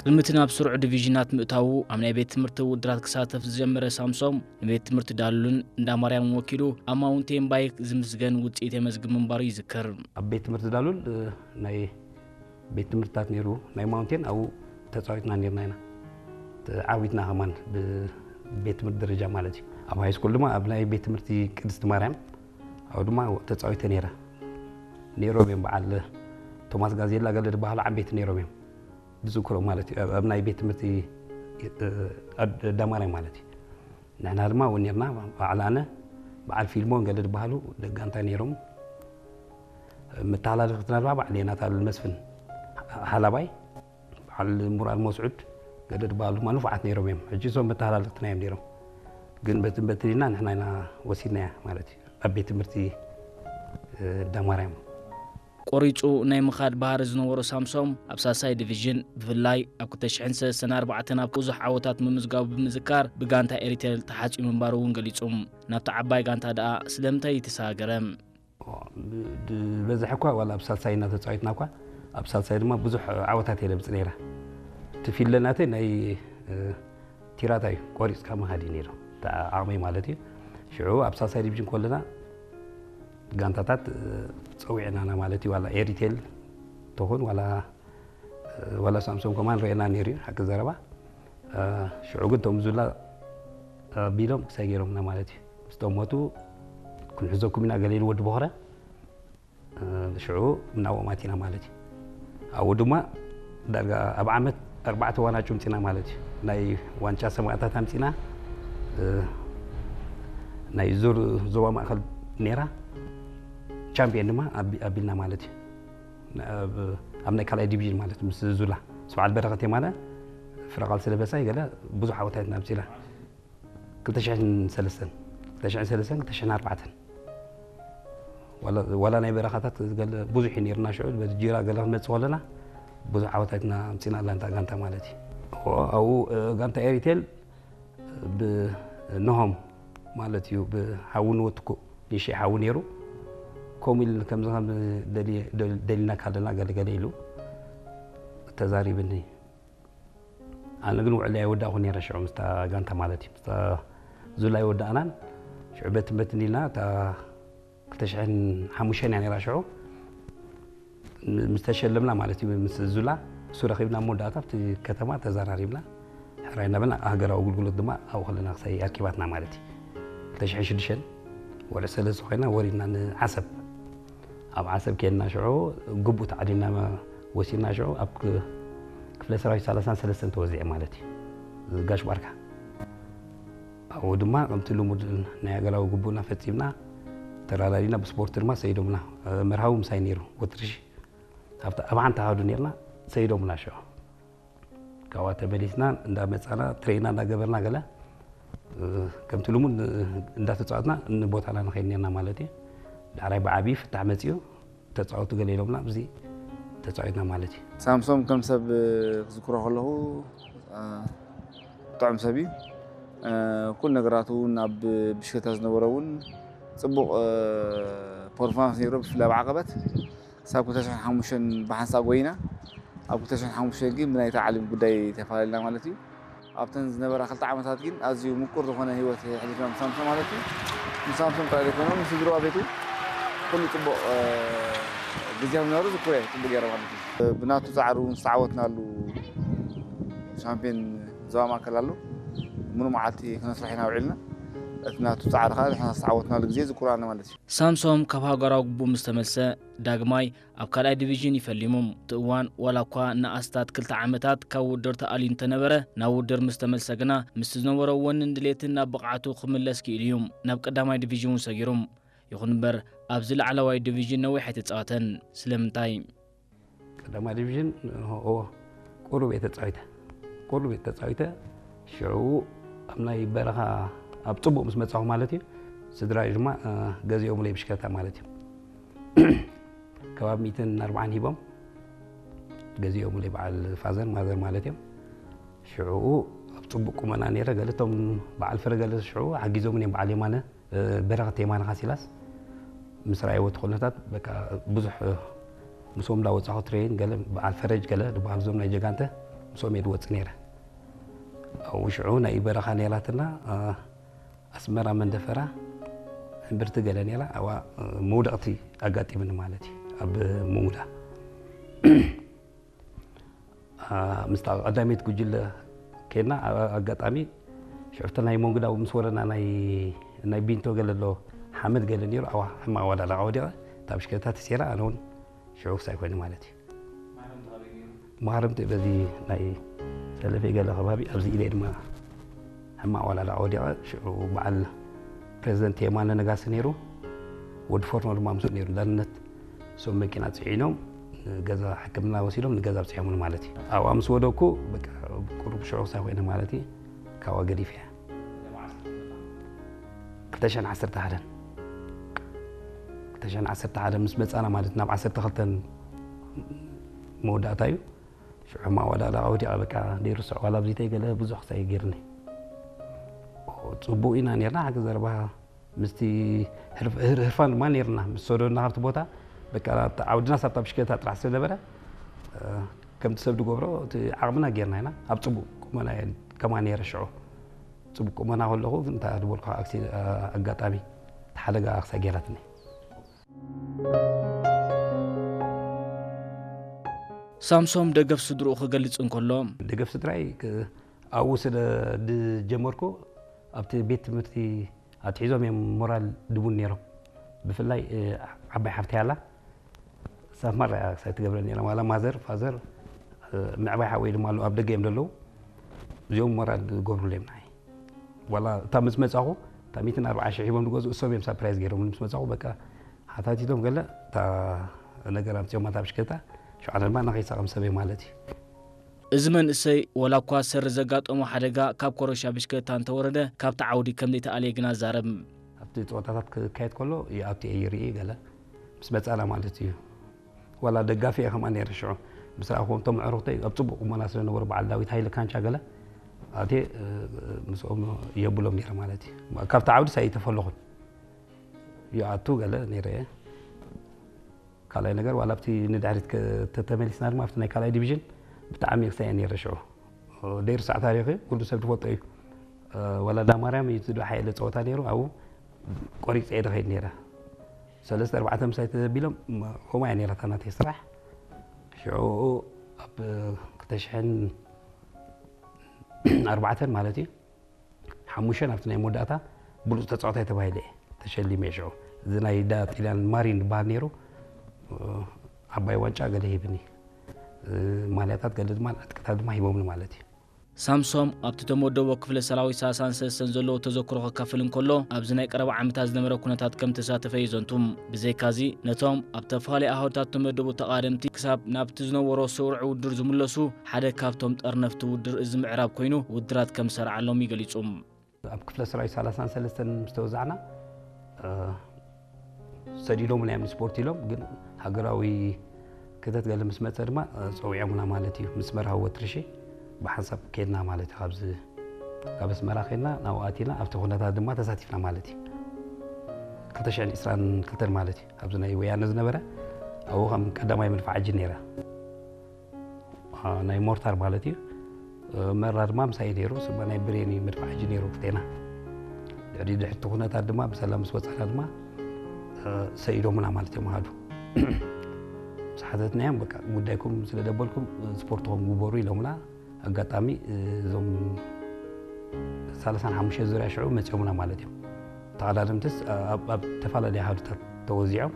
ቅድሚ እቲ ናብ ስሩዕ ዲቪዥናት ምእታዉ ኣብ ናይ ቤት ትምህርቲ ውድድራት ክሳተፍ ዝጀመረ ሳምሶም፣ ንቤት ትምህርቲ ዳሉልን እንዳ ማርያምን ወኪሉ ኣብ ማውንቴን ባይክ ዝምስገን ውፅኢት የመዝግብ ምንባሩ ይዝክር። ኣብ ቤት ትምህርቲ ዳሉል ናይ ቤት ትምህርትታት ነይሩ፣ ናይ ማውንቴን ኣብኡ ተፃዊትና ነይርና ኢና። ተዓዊትና ከማን ብቤት ትምህርቲ ደረጃ ማለት እዩ። ኣብ ሃይ ስኩል ድማ ኣብ ናይ ቤት ትምህርቲ ቅድስቲ ማርያም ኣብኡ ድማ ተፃዊተ ነይረ። ነይሮም እዮም በዓል ቶማስ ጋዜላ ገለ ዝበሃሉ ዓበይቲ ነይሮም እዮም። ብዝክሮም ማለት እዩ ኣብ ናይ ቤት ትምህርቲ ዳማርያም ማለት እዩ። ንሕና ድማ እውን ነርና በዓል ኣነ በዓል ፊልሞን ገለ ዝበሃሉ ደጋንታ ነይሮም። መተሓላለፍትና ድማ በዓል ዮናታን መስፍን ሓላባይ በዓል ሙራል መስዑድ ገለ ዝበሃሉ ድማ ንፉዓት ነይሮም እዮም። ሕጂ እሶም መተሓላለፍትና እዮም ነይሮም። ግን በትን በትን ኢልና ንሕና ኢና ወሲድናያ ማለት እዩ ኣብ ቤት ትምህርቲ ዳማርያም። ቆሪፁ ናይ ምኻድ ባህሪ ዝነበሮ ሳምሶም ኣብ ሳልሳይ ዲቪዥን ብፍላይ ኣብ ክልተ ሽሕን ሰለስተን ኣርባዕተን ኣብ ብዙሕ ዓወታት ምምዝጋቡ ብምዝካር ብጋንታ ኤሪቴል ተሓፂኡ ምንባሩ እውን ገሊፁ። ናብታ ዓባይ ጋንታ ደኣ ስለምንታይ ተሰጋገረ? ዝበዝሐ እኳ ዋላ ኣብ ሳልሳይ እናተፃወትና እኳ ኣብ ሳልሳይ ድማ ብዙሕ ዓወታት እየ ለምፅ ነይረ። እቲ ፊለ ናተይ ናይ ቲራታ እዩ ቆሪፅካ ምኻድ እዩ ነይሩ ዓቕመይ ማለት እዩ። ሽዑ ኣብ ሳልሳይ ዲቪዥን ከለና ጋንታታት ፀዊዕናና ማለት እዩ። ዋላ ኤሪቴል ተኾን ዋላ ዋላ ሳምሶም ከማን ረኤና ነይሩ እዩ ሓቂ ዘረባ። ሽዑ ግን እቶም ዙላ ኣቢሎም ክሳይ ገይሮምና ማለት እዩ። ምስቶም ሞቱ ክንሕዘኩም ኢና ገለ ኢሉ ወዲ ቦኽረ ሽዑ ናብኦም ኣቲና ማለት እዩ። ኣብኡ ድማ ዳርጋ ኣብ ዓመት ኣርባዕተ ዋንጫ ኣምፂና ማለት እዩ። ናይ ዋንጫ ሰማእታት ኣምፂና፣ ናይ ዙር ዞባ ማእኸል ነይራ ቻምፒየን ድማ ኣቢልና ማለት እዩ። ኣብ ናይ ካልኣይ ዲቪዥን ማለት ምስ ዙላ ምስ በዓል በረኸት የማነ ፍረቓል ስለበሳይ ገለ ብዙሕ ዓወታት ኣምፂና። ክልተ ሽሕን ሰለስተን ክልተ ሽሕን ሰለስተን ክልተ ሽሕን ኣርባዕተን ዋላ ናይ በረኻታት ብዙሕ እዩ ነይርና። ሽዑ በዚ ጂራ ገለ ክንመፅእ ከለና ብዙሕ ዓወታትና ኣምፂና ኣላ እንታ ጋንታ ማለት እዩ። ኣብኡ ጋንታ ኤሪቴል ብነሆም ማለት እዩ ብሓዊ ንወትኩ ንእሽተይ ሓዊ ነይሩ። ከምኡ ኢሉ ከምዚ ከም ደሊና ካለና ገለገለ ኢሉ ተዛሪብኒ። ኣነ ግን ውዕለይ ኣይወዳእኹ ነይረ ሽዑ ምስታ ጋንታ ማለት እዩ። ምስታ ዙላ ኣይወዳእናን ሽዑ በትን በትን ኢልና እታ ክልተ ሽሕን ሓሙሽተን እያ ነይራ ሽዑ ምስ ተሸለምና ማለት እዩ ምስ ዙላ እሱ ረኺብና ኣብ መወዳእታ ኣብቲ ከተማ ተዘራሪብና ሕራይ እናበልና ሃገራዊ ኣገልግሎት ድማ ኣብኡ ከለና ክሳይ ኣርኪባትና ማለት እዩ። ክልተ ሽሕን ሽዱሽተን ወርሒ ሰለስተ ኮይና ወሪድና ንዓሰብ ኣብ ዓሰብ ከድና ሽዑ ግቡእ ተዓዲምና ወሲድና ሽዑ ኣብ ክፍለ ሰራዊት ሰላሳን ሰለስተን ተወዚዐ ማለት እዩ። ጋሽ ባርካ ኣብኡ ድማ ከምቲ ልሙድ ናይ ሃገራዊ ግቡእና ፈፂምና ተራዳዲና ብስፖርት ድማ ሰይዶምና መርሃዊ ምሳይ ነይሩ ወትርሺ ኣብቲ ኣብ ሓንቲ ሃዱ ነርና ሰይዶምና ሽዑ ካብኣ ተመሊስና እንዳመፃና ትሬና እንዳገበርና ገለ ከምቲ ልሙድ እንዳተፃወትና ንቦታና ንኸይድ ነርና ማለት እዩ። ዳዕራይ ብዓብዪ ፍታሕ መፅኡ ተፃወቱ ገለ ኢሎምና ኣብዚ ተፃዊትና ማለት እዩ። ሳምሶም ከም ሰብ ክዝክሮ ከለኹ ጥዑም ሰብ እዩ። ኩሉ ነገራቱ እውን ኣብ ብሽክለታ ዝነበረ እውን ፅቡቕ ፐርፎርማንስ ነይሩ። ብፍላይ ኣብ ዓቐበት ክሳብ ክልተ ሽሕን ሓሙሽተን ብሓንሳእ ጎይና ኣብ ክልተ ሽሕን ሓሙሽተን ግን ብናይ ታዕሊም ጉዳይ ተፈላለና ማለት እዩ። ኣብተን ዝነበራ ክልተ ዓመታት ግን ኣዝዩ ምቁር ዝኾነ ህይወት የሕሊፍና ምስ ሳምሶም ማለት እዩ። ምስ ሳምሶም ጥራይ ዘይኮነ ምስ ስድርኡ ቤቱ ኩሉ ፅቡቕ ግዜ ምንባሩ ዝክሮ እየ ፅቡቕ ገይረ ማለት እዩ። ብናቱ ፃዕሪ እውን ዝተዓወትናሉ ሻምፒዮን ዞባ ማእከል ኣሎ። ሙሉ መዓልቲ ክነስርሕ ኢና ውዒልና። እቲ ናቱ ፃዕሪ ከዓ ንሕና ዝተዓወትናሉ ግዜ ዝክሮ ኣነ ማለት እዩ። ሳምሶም ካብ ሃገራዊ ግቡእ ምስ ተመልሰ ዳግማይ ኣብ ካልኣይ ዲቪዥን ይፈሊሙ። እቲ እዋን ዋላ እኳ ንኣስታት ክልተ ዓመታት ካብ ውድድር ተኣልዩ እንተነበረ ናብ ውድድር ምስ ተመልሰ ግና ምስቲ ዝነበሮ ወንን ድሌትን ናብ ብቕዓቱ ክምለስ ክኢሉ እዩ። ናብ ቀዳማይ ዲቪዥን እውን ሰጊሩ። ይኹን እምበር ኣብዚ ላዕለዋይ ዲቪዥን ነዊሕ ኣይተፃወተን። ስለምንታይ? ቀዳማይ ዲቪዥን እዎ ቁሩብ እየ ተፃዊተ ቁሩብ እየ ተፃዊተ ሽዑ ኣብ ናይ በረኻ ኣብ ፅቡቕ ምስ መፃኹ ማለት እዩ ስድራይ ድማ ገዚኦምለይ ብሽክለታ ማለት እዩ ከባቢ ሚእትን ኣርባዓን ሂቦም ገዚኦምለይ በዓል ፋዘር ማዘር ማለት እዮም ሽዑ ኣብ ፅቡቕ ቁመና ነይረ ገለቶም በዓል ፍረ ገለ ሽዑ ሓጊዞም እዮም በዓል የማነ በረኸት የማነ ካሲላስ ምስ ረኣይዎ እቲ ኩነታት በቃ ብዙሕ ምስኦም እንዳወፃኹ ትሬን ገለ በዓል ፈረጅ ገለ ዝበሃሉ እዞም ናይ ጀጋንተ ምስኦም እየ ዝወፅእ ነይረ። ኣብኡ ሽዑ ናይ በረኻ ነይራትና፣ ኣስመራ መንደፈራ እምብርቲ ገለ ነይራ። ኣብኣ መውደቕቲ ኣጋጢምኒ ማለት እዩ። ኣብ መንጉዳ ምስታ ቀዳመይቲ ጉጅለ ኬድና፣ ኣጋጣሚ ሽዑ ናይ መንጉዳ ምስ ወረና ናይ ቢንቶ ገለ ኣሎ፣ ሓመድ ገለ ነይሩ። ኣዋ ሕማቕ ዋላ ዳዕዋ ወዲቐ፣ እታ ብሽክለታ ተሰይራ፣ ኣነ እውን ሽዑ ክሳይ ኮይኑ ማለት እዩ። መሃረምቲ በዚ ናይ ሰለፌ ገለ ከባቢ ኣብዚ ኢደ ድማ ሕማቕ ዋላ ዳዕዋ ወዲቐ። ሽዑ በዓል ፕሬዚደንት የማነ ነጋሲ ነይሩ፣ ወዲ ፎርኖ ድማ ምስኡ ነይሩ። ዳንነት እሶም መኪና ፅዒኖም ንገዛ ሕክምና ወሲዶም ንገዛ ኣብፅሖምኒ ማለት እዩ። ኣብኣ ምስ ወደኩ በቃ ቁሩብ ሽዑ ክሳይ ኮይነ ማለት እዩ። ካብኣ ገዲፈ እየ። ክልተ ሽሕን ዓሰርተ ሓደን ክልተ ሽሕን ዓሰርተ ሓደን ምስ መፃና ማለት ናብ ዓሰርተ ክልተን መወዳእታ እዩ። ሽዑ ማዋዳዳ ወዲቐ በቃ ደይርስዖ ዋላ ኣብዚተይ ገለ ብዙሕ ክሳይ ገይርኒ። ፅቡቕ ኢና ነርና ሓቂ ዘረባ ምስቲ ህርፋን ድማ ነርና ምስ ሰደና ካብቲ ቦታ በቃ ዓውድና ሳብታ ብሽክለታ ጥራሕ ስለነበረ ከምቲ ሰብ ዝገብሮ እቲ ዓቕምና ጌርና ኢና ኣብ ፅቡቕ ቁመና ከማ ነረ ሽዑ ፅቡቅ ቁመና ከለኹ ግን እንታይ ዝበልኩ ኣጋጣሚ ሓደጋ ክሳይ ገይራትኒ። ሳምሶም ደገፍ ስድርኡ ክገልጽ እንከሎ፣ ደገፍ ስድራይ ኣብኡ ስለ ዝጀመርኩ ኣብቲ ቤት ትምህርቲ ኣትሒዞም እዮም ሞራል ድቡን ነይሮም። ብፍላይ ዓባይ ሓፍተይ ኣላ ሳብ ማራ እያ ክሳይ ትገብረ ነይራ። ዋላ ማዘር ፋዘር ምዕባይ ሓወይ ድማ ኣለዉ ኣብ ደገ እዮም ዘለዉ። እዚኦም ሞራል ዝገብሩሉ እዮም ንዓይ። ዋላ እታ ምስ መጻኹ እታ ሚእትን ኣርባዓ ሽሕ ሂቦም ዝገዝኡ እሶም እዮም ሳፕራይዝ ገይሮም ምስ መጻኹ በቃ ሓታቲቶም ገለ እታ ነገር ኣምጺኦም ኣታ ብሽክለታ ሸውዓተ ድማ ንኸይሳቐም ሰብ እየ ማለት እዩ። እዚ መንእሰይ ወላ እኳ ሰሪ ዘጋጠሞ ሓደጋ ካብ ኮረሻ ብሽክለታ እንተወረደ ካብቲ ዓውዲ ከም ዘይተኣልየ ግና ዛረብ። ኣብቲ ፀወታታት ክካየድ ከሎ ይኣቱ እየ ይርኢ ገለ ምስ መፃና ማለት እዩ። ዋላ ደጋፊ እየ ከምኣ ነይረ ሽዑ ምስ ረኣኹዎም እቶም ኣዕሩኽተይ ኣብ ፅቡቕ ቁመና ስለነበሩ በዓል ዳዊት ሃይለ ካንቻ ገለ ኣትየ ምስኦም የብሎም ነይረ ማለት እዩ። ካብቲ ዓውዲ ሳይተፈለኹን ይኣቱ ገለ ነይረ እየ። ካልኣይ ነገር ዋላ ኣብቲ ንድሕሪት ተተመሊስና ድማ ኣብቲ ናይ ካልኣይ ዲቪዥን ብጣዕሚ ክሳየ ነይረ ሽዑ ደይርሳዕ ታሪኽ እዩ ኩሉ ሰብ ዝፈልጦ እዩ። ወላዳ ማርያም እዩ ዝዶ ሓየለ ፀወታ ነይሩ ኣብኡ ቆሪፀ እየ ዝኸይድ ነይረ። ሰለስተ ኣርባዕተ ምሳይ ተዘቢሎም ከምኡ እያ ነይራታ ናተይ ስራሕ። ሽዑ ኣብ ክልተ ሽሕን ኣርባዕተን ማለት እዩ ሓሙሽተ ኣብቲ ናይ መወዳእታ ብሉፅ ተፃዋታይ ተባሂለ እየ ተሸሊመ እየ ሽዑ። እዚ ናይ ዳ ጢልያን ማሪን ዝበሃል ነይሩ ዓባይ ዋንጫ ገለ ሂብኒ ማልያታት ገለ ድማ ዕጥቅታት ድማ ሂቦምኒ ማለት እዩ። ሳምሶም ኣብቲ ተመደቦ ክፍለ ሰራዊት ሰላሳን ሰለስተን ዘለዎ ተዘክሮ ከካፍል እንከሎ ኣብዚ ናይ ቀረባ ዓመታት ዝነበረ ኩነታት ከም ተሳተፈ እዩ ዘንቱ። ብዘይካዚ ነቶም ኣብ ተፈላለየ ኣሃዱታት ተመደቡ ተቓደምቲ ክሳብ ናብቲ ዝነበሮ ስሩዕ ውድድር ዝምለሱ ሓደ ካብቶም ጠርነፍቲ ውድድር እዚ ምዕራብ ኮይኑ ውድድራት ከም ዝሰርዓሎም እዩ ገሊጹ። ኣብ ክፍለ ሰራዊት ሰላሳን ሰለስተን ምስ ተወዛዕና ሰዲዶምና እዮም ንስፖርት ኢሎም ግን ሃገራዊ ክተት ገለ ምስ መፀ ድማ ፀዊዖምና ማለት እዩ ምስ መርሃዊ ወትርሺ ብሓንሳብ ከድና ማለት እዩ። ካብዚ ካብ ኣስመራ ከድና ናብኡ ኣቲና ኣብቲ ኩነታት ድማ ተሳቲፍና ማለት እዩ። ክልተ ሽሕን ዕስራን ክልተን ማለት እዩ ኣብዚ ናይ ወያነ ዝነበረ ኣብኡ ከም ቀዳማይ መድፍዓጂ ነይረ። ናይ ሞርታር ማለት እዩ። መራ ድማ ምሳይ ነይሩ ስማ ናይ ብሬን እዩ መድፍዓጂ ነይሩ ክልቴና። ድሕሪ ድሕርቲ ኩነታት ድማ ብሰላም ምስ ወፃና ድማ ሰኢዶምና ማለት እዮም ኣሃዱ። ምስ ሓተትናዮም በቃ ጉዳይኩም ስለ ደበልኩም ስፖርትኹም ግበሩ ኢሎምና። ኣጋጣሚ እዞም ሰላሳን ሓሙሽተ ዙርያ ሽዑ መፂኦምና ማለት እዮም። ተቐዳደምትስ ኣብ ተፈላለየ ኣሃዱታት ተወዚዖም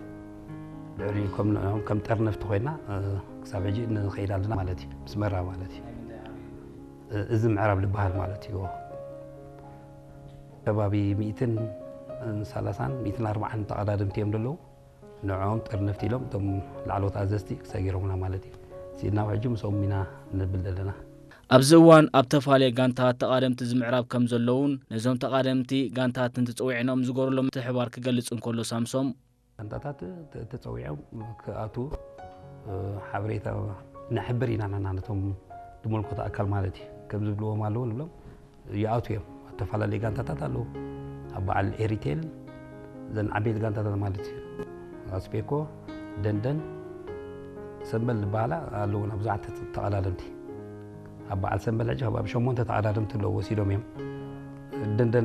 ልዕሊ ከም ንዕኦም ከም ጠርነፍቲ ኮይና ክሳብ ሕጂ ንኸይድ ኣለና ማለት እዩ። ምስ መራ ማለት እዩ። እዚ ምዕራብ ዝበሃል ማለት እዩ። ከባቢ ሚእትን ሰላሳን ሚእትን ኣርባዓን ተቐዳደምቲ እዮም ዘለዉ። ንዕኦም ጠርነፍቲ ኢሎም እቶም ላዕለዎት ኣዘዝቲ ሰጊሮምና ማለት እዩ። ሲድና ሕጂ ምስኦም ኢና ንብል ዘለና። ኣብዚ እዋን ኣብ ተፋልየ ጋንታት ተቓደምቲ እዚ ምዕራብ ከም ዘለውን ነዞም ተቓደምቲ ጋንታት እንትፅውዕኖም ዝገበረሎም ምትሕብባር ክገልፅ እንከሎ ሳምሶም፣ ጋንታታት ተፀዊዖም ክኣትዉ ሓበሬታ ነሕብር ኢና ናና ነቶም ዝመልከቶ ኣካል ማለት እዩ። ከም ዝብልዎም ኣለዉ ንብሎም ይኣትዉ እዮም። ኣብ ተፈላለየ ጋንታታት ኣለዉ። ኣብ በዓል ኤሪቴል እዘን ዓበይቲ ጋንታታት ማለት እዩ። ኣስፔኮ፣ ደንደን፣ ሰምበል ዝበሃላ ኣለዉ ናብ ብዙሓት ተቐዳደምቲ። ኣብ በዓል ሰንበል ሕጂ ካብ ኣብ ሸሞንተ ተቐዳደምቲ ኣለዉ ወሲዶም እዮም። ደንደን